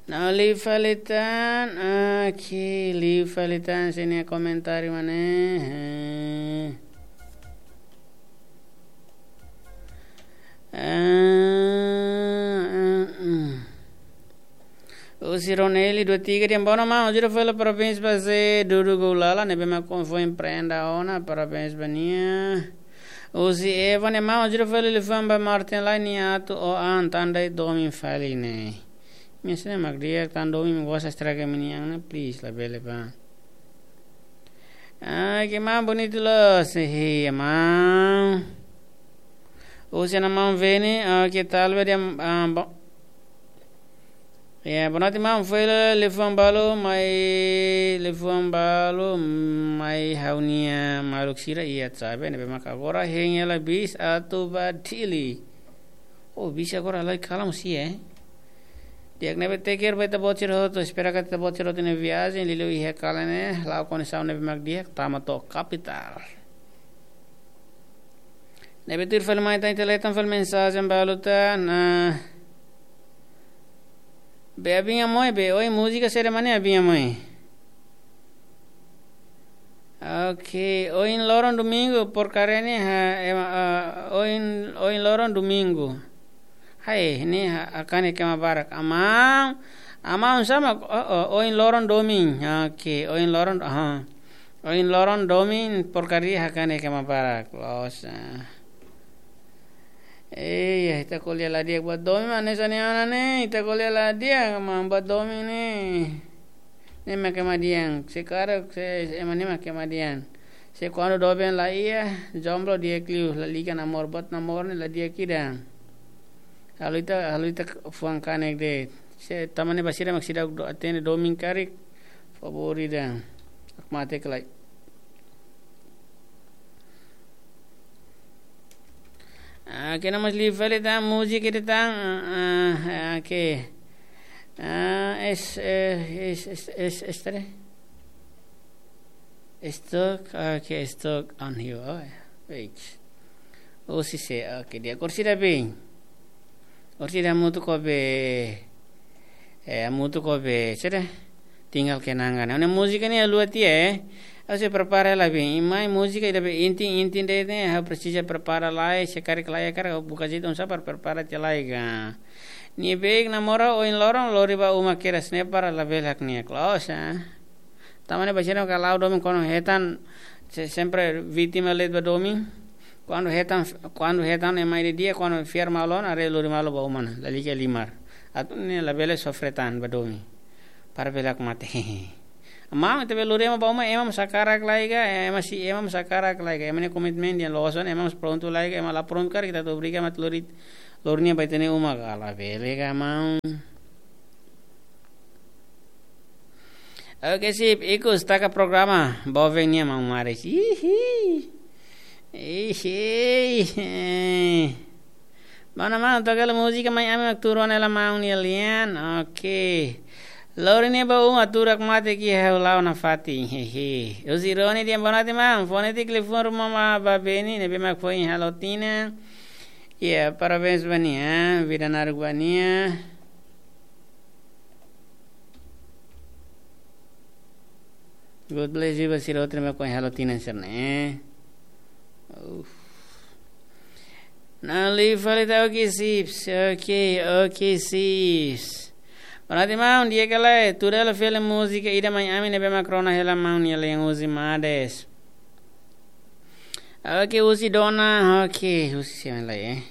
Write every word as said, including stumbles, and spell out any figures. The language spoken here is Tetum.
Nah, liu fali tan, oke, liu fali tan, sini komentáriu mana? Ah, ah, ah. Husi Roneli dua tiga dehan: "Bonan maun, ha'u hato'o fali parabéns ba Zé Dudu Goulala, ne'ebé mak foin prenda ona, parabéns ba nia." Husi Eva ne'e: "Maun, ha'u hato'o fali liafuan ba Martin lai nia atu oan, tan ida domin fali ne'e." Nia sira mak di'ak, tan domin mak gosta estraga ema nian ona, please, labele ba. Ah, ke maun, bonitu loos, eh, maun. Husi Ana Maun Vene, ah, ke tal be dia, ah, bo-, ya, boa noite maun, fó hela liafuan balu mai, liafuan balu mai ha'u-nia maluk sira iha Cabe, ne'ebé maka agora hein hela bis atu ba Dili. Oh, bis agora halai kalan mós iha, eh. Di'ak, ne'ebé take care ba ita-boot sira hotu, espera katak ita-boot sira hotu iha viajen, liuliu iha kalan ne'e, la'o kondisaun ne'ebé mak di'ak, tama to'o kapitál. Ne'ebé tuir fali mai tan, ita hetan fali mensajen balu tan, ah, be Abinha Moi, be, ohin múzika saida mak ne'e Abinha Moi? Oke, ohin loron domingu, porkaria ne'e ha, ema, ah, ohin, ohin loron domingu. Hai, ne'e ha, hakanek ema barak. Amaun, amaun sá mak, oh, oh, ohin loron domin. Oke, ohin loron, aha. Ohin loron domin porkaria hakanek ema barak. Loos, ah. Eh, ya, ita ko'alia la di'ak buat domin, maun, ne'e sá ne'e ona ne'e, ita ko'alia la di'ak, maun, buat domin ne'e. Ne'e mak ema dehan, se karik, se, ema ne'e mak ema dehan. Se kuandu doben la iha, jomblo di'ak liu, lalika namoro, buat namoro ne'e la di'ak ida. Halo ita, halo ita fuan kanek de'it. Se tanba ne'e ba sira mak seidauk do-, hatene domin karik, favór ida. Hakmatek lai. Ah, ke na mas liu fali tan, múzika ida tan, ah, ah, ke. Ah, es, eh, es, es, es, es, tadi? Stuck, ah, ke stuck on you, oh, ya. Wait. Oh, si se, oke, di'ak, orsida bem. Orsida hamutuk ho be, eh, hamutuk ho be, sede? Tinggal kenangan. Ne'e múzika ne'e luat ya, eh. Ha'u sei prepara lai bem. I mai múzika ida be inti, inti de'it ne'e, ha'u presiza prepara lai, se karik lai, karik buka jeitu oinsá para prepara tiha lai ka. Nia beik namoro ohin loron, lori ba uma kedas ne'e para labele hakne'ak loos, ah. Tanba ne'e ba sira mak la'o domin kuandu hetan, se-, sempre vítima de'it ba domin. Kuandu hetan, kuandu hetan ema ida di'ak, kuandu fiar malu ona, haree lori malu ba uma ona, lalika halimar. Atu ne'e labele sofre tan ba domin. Para bele hakmatek. Maun, ita bele lori ema ba uma, ema mós hakarak lai ka, ema sei, ema mós hakarak lai ka, ema nia komitmen dehan loos ona, ema mós prontu lai ka, ema la prontu karik, ita atu obriga ema atu lori, lori nia ba ita-nia uma ka, labele ka, maun. Oke, sip, ikus taka programa, boven nia maun Maris. Ihi. Ihi. Mana maun, toka hela múzika Mai Ami mak tuur ona hela maun nia lian. Oke. Lori nia ba uma, tuur hakmatek iha ha'u la'o nafatin. Hehe. Husi Roni dehan boa noite maun, fó netik liafuan ruma ba, ba Beni, ne'ebé mak foin halo tinan. Ya, parabéns ba nia, vida naruk ba nia. God bless you, ba sira hotu ne'ebé mak foin halo tinan sira-ne'e. Uf. Nah, liu fali tan, oke, sips. Oke, oke, sips. Boa noite maun, di'ak ka lae, tuur hela fali múzika ida Mai Ami ne'ebé mak rona hela maun nia lian, husi Mades. Oke, husi Dona, oke, husi siapa lai, eh?